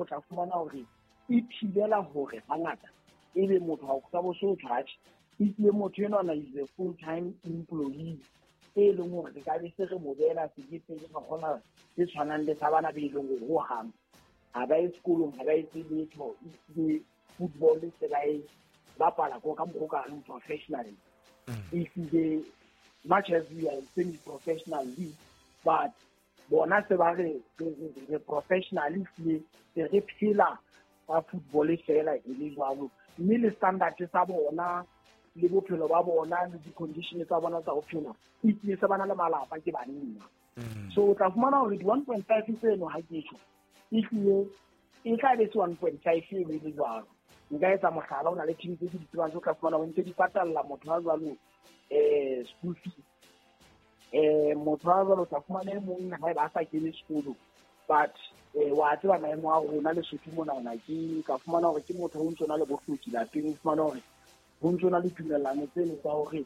O tla fumana hore e thibela hore hangata ebe motho ha o sa bo so tjhatjhe ehlile motho enwana is a full time employee e leng hore re ka be se re mo beela sekepele ga gona se tshwanang le sa bana be e leng hore hohang ha ba ye sekolong, ha ba etse letho, ehlile football se ba e bapala ko ka mokgwa o ka reng professionally. Ehlile much as we are semi professional league, but bona se ba re re professional, ehlile se re phela ka football fela e le jwalo, mme le standard sa bona le bophelo ba bona le di-condition tsa bona tsa ho phela, ehlile se ba na le malapa, ke banna. So o tla fumana hore di-1.5 tseno, ha ke tjho, ehlile e tla be se 1.5 eno e le jwalo. Nka etsa mohlala, o na le team tse ke di tsebang tse o tla fumana ho ntse di patalla motho a jwalo school fees. Motho a jwalo o tla fumana e mong haeba a sa kene sekolo, but wa tseba maemo a rona Lesotho monana, ke ka fumana hore ke motho ho ntso na le bohloki lapeng, o fumana hore ho ntso na le tumellano tseno tsa hore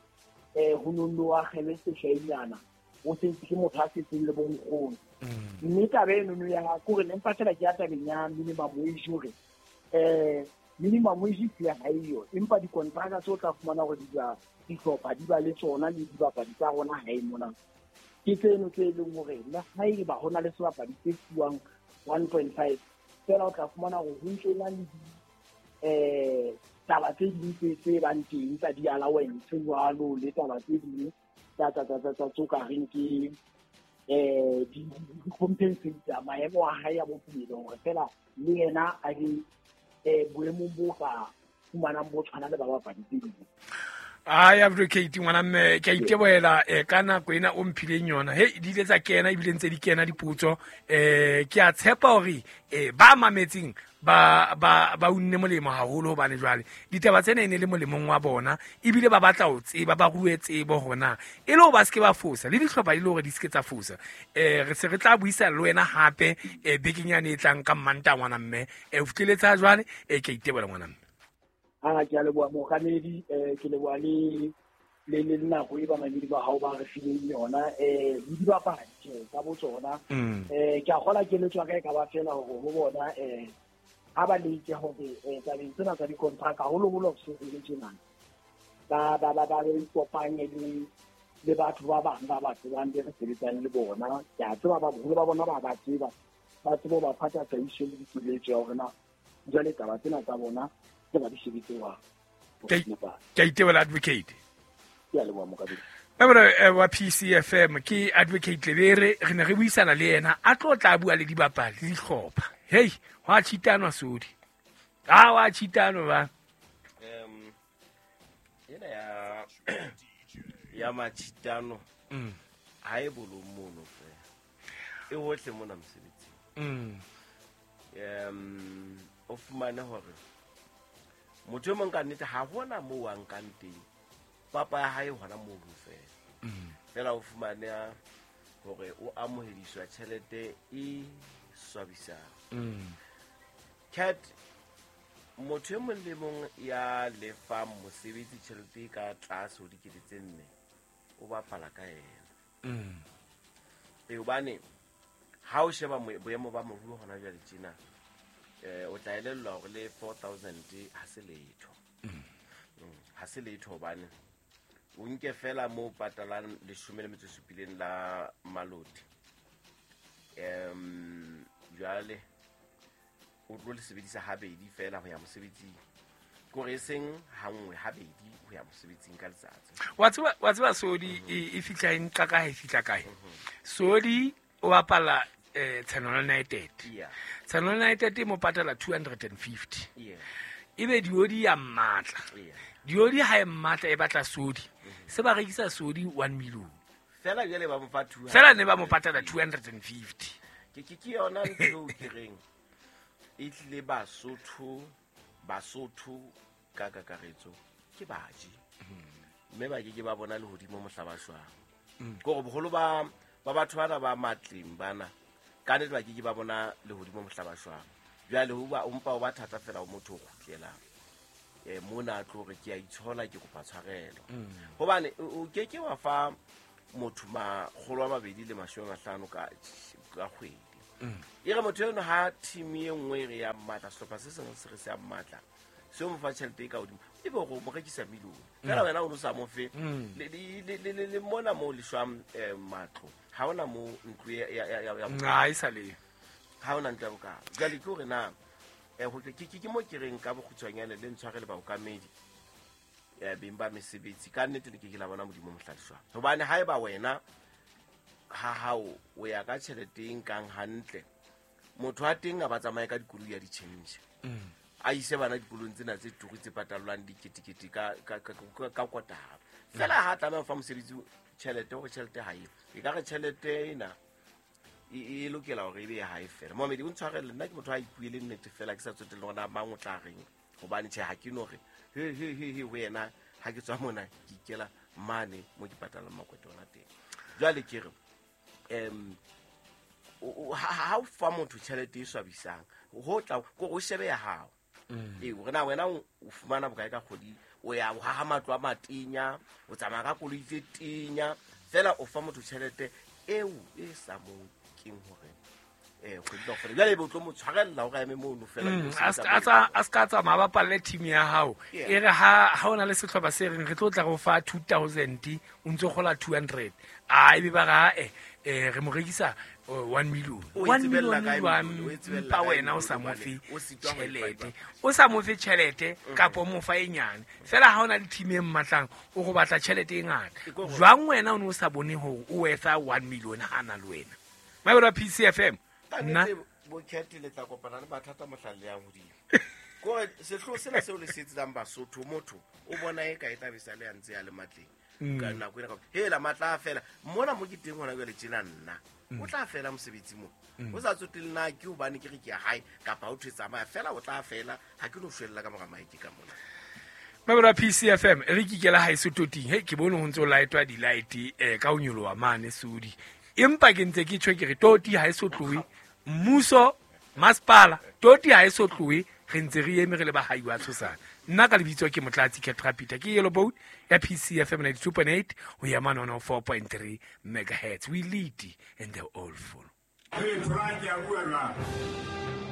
ho nonno wa kgele seshainyana, o setse ke motho a setseng le bonkgono. Mme taba enono ya kore ne mpa fela ke ya tabeng ya minimum wage, hore minimum wage hlile ha eyo, empa dikontraka tse o tla fumana hore dihlopha di ba le tsona le dibapadi tsa rona hae mona ke tseno tse leng hore le haeba ho na le sebapadi se fuwang 1.5 fela, o tla fumana hore ho ntso na le taba tse ding tse bang teng tsa di-allowance jwalo, le taba tse ding tsa tso ka reng ke di compensate maemo a hae a bophelo, hore fela le yena a be boemong bo ka fumanang bo tshwana le ba bapadi tse ding. Ai, advocate, ngwana mme, ke a itebohela ka nako ena o mphileng yona. He di ile tsa kena, ebile ntse di kena dipotso. Ke a tshepa hore ba mametseng ba unne molemo haholo, hobane jwale ditaba tsena e ne le molemong wa bona, ebile ba batla ho tseba, ba rue tsebo hore na e le hore ba seke ba fosa, le dihlopha di le hore di seke tsa fosa. Re se re tla buisana le wena hape bekeng yane e tlang ka Mmantaha, ngwana mme. O fihleletse jwale. Ke a itebohela, ngwana mme. A ke a leboha, mookamedi. Ke leboha le nako e bamamedi ba hao ba re fileng yona, le dibapadi tje ka bo tsona. Ke a kgola keletso ya ka e ka ba fela hore ho bona ha ba leke hore tabeng tsena tsa dikontraka, haholoholo ho se le tjenana, ba ikopanye le batho ba bang ba ba tsebang be re sebetsang le bona. Ke a tseba ba boholo ba bona ba tseba, ba tsebe ho ba fa tataiso le dikeletso ya hore na jwale taba tsena tsa bona tse ba di shebetse jwang. Ke a itebohela, advocate. Ke a leboha, mokabedi. Member wa PCFM ke Advocate Lebere. Re ne re buisana le yena, a tlo tla bua le dibapadi le dihlopha. Hei, hwa cheatanwa sodi, a wa cheatanwa ba. Ena ya machitano ha e bolong mono fela, e hohle mona mosebetsing. O fumane hore motho e mong ka nnete ha hona moo a nkang teng papa ya hae hona mono fela. Fela o fumane hore o amohediswa tjhelete e swabisang. Cat, motho e mong le mong ya lefang mosebetsi tjhelete e ka tlase ho 4 000, o bapala ka yena. E hobane ha o sheba boemo ba moruo hona jwale tjena, o tla elellwa hore le 4000 ha se letho. Ha se letho, hobane o nke fela mo patalang 17 la maloti, jwale o tlo le sebedisa habedi fela ho ya mosebetsing, kore e seng hanngwe, habedi ho ya mosebetsing ka letsatsi. Wa tseba sodi e fihla e nqa kae, e fihla kae sodi? O bapala Channel United. Channel United e mo patala 250. Ebe diodi ya mmatla. Diodi ha e mmatla, e batla sodi, se ba rekisa sodi 1 million. Fela jwale ba mo fa 200. Fela ne ba mo patala 250. Ke yona ntho eo ke reng e tlile Basotho ka kakaretso ke baji, mme ba ke ke ba bona lehodimo mohla ba shwang. Ke hore boholo ba batho bana ba matleng bana ka nnete ba ke ke ba bona lehodimo mohla ba shwang. Jwale ho ba o mpa o ba thata fela ho motho o kgutlelang mona a tlo re ke a itshola, ke kopa tshwarelo, hobane o ke ke wa fa motho 250 ka kgwedi. E re motho eno ha team e nngwe e re ya mmatla, sehlopha se sengwe se re se ya mmatla, se o mo fa tjhelete e ka hodimo, e be gore o mo rekisa millione fela wena o no sa mo fe. Le mona mo le shwang matlo, ha ona mo ntlo ya Ha e sa le ha ona ntlo ya bokalo. Jwale ke hore na ke mo ke reng ka bokgutshwanyane le ntshware le baokamedi beng ba mesebetsi, ka nnete le ke ke la bona Modimo mohladiswa. Hobane haeba wena ha hao o ya ka tjhelete e nkang hantle, motho wa teng a ba tsamaye ka dikoloi ya di-change, a ise bana dikolong tsena tse turu tse patalwang diketekete ka kotara fela. Ha tlameha ho fa mosebetsi tjhelete, hore tjhelete ha eo, e ka re tjhelete ena e lokela hore e be ya hae fela. Mohamedi, o ntshwarele, nna ke motho a ipuele nnete fela, ke sa tsotelle hore na mang o tla reng, hobane tjhe ha ke no re he he he he ho yena. Ha ke tswa mona ke ikela mane mo ke patalang makwete ona teng. Jwale ke re ha o fa motho tjhelete e swabisang, ho tla ko o shebe ya hao, ee, hore na wena o fumana bokae ka kgwedi, o ya o haha matlo a matenya, o tsamaya ka koloi tse tenya, fela o fa motho tjhelete eo e sa mo keng hore kgwedi kaofela, jwale ebe o tlo mo tshwarella hore a eme mono fela. A se ka tsamaya, ba palle team ya hao. E re ha o na le sehlopha se reng re tlo tla go fa 2000, o ntso kgola 200, a ebe ba re re mo rekisa 1 million. O 1 itsebella million kae jwang? million? O itsebella Empa kae wena o million? sa mo Hobane fe o sitwa ho e tjhelete, fa. o sa mo fe tjhelete kapa o mo fa e nyane fela. Ha o na le team e mmatlang, o go batla tjhelete e ngata. Ke ko Jwang wena o ne o sa bone hore o worth-a 1 million ha na le wena Mabelo a PCFM? Ka Nna nnete, bo-Cat, le tla kopana le mathata mohlang le yang hodimo. Kore sehloho sena seo le se etsetsang Basotho, motho o bona e ka e tla be sa le a ntse a le matleng ka nako ena hela matla a fela mona mo ke teng hona jwale tjena, nna o tla fela mosebetsi mo, o sa tsotelle na ke hobane ke re ke ya hae kapa ho thwe tsamaya fela, o tla fela. Ha ke no shwella ka mora maeke ka mona. Mabelo a PCFM, re kikela haeso toting. He, ke bone ho ntso lightwa di-light ka ho nyoloha mane Sodi, empa ke ntse ke tjho ke re toti ha e so tlohe. Mmuso, masepala, toti ha e so tlohe, re ntse re eme re le bahai wa tshosana. Nna ka lebitso ke Motlatsi Catrapita, ke Yellow Boat ya PCFM 92.8 ho ya mane 104.3 megahertz. We lead and they all follow. Hey, Frank, ya bua jwang?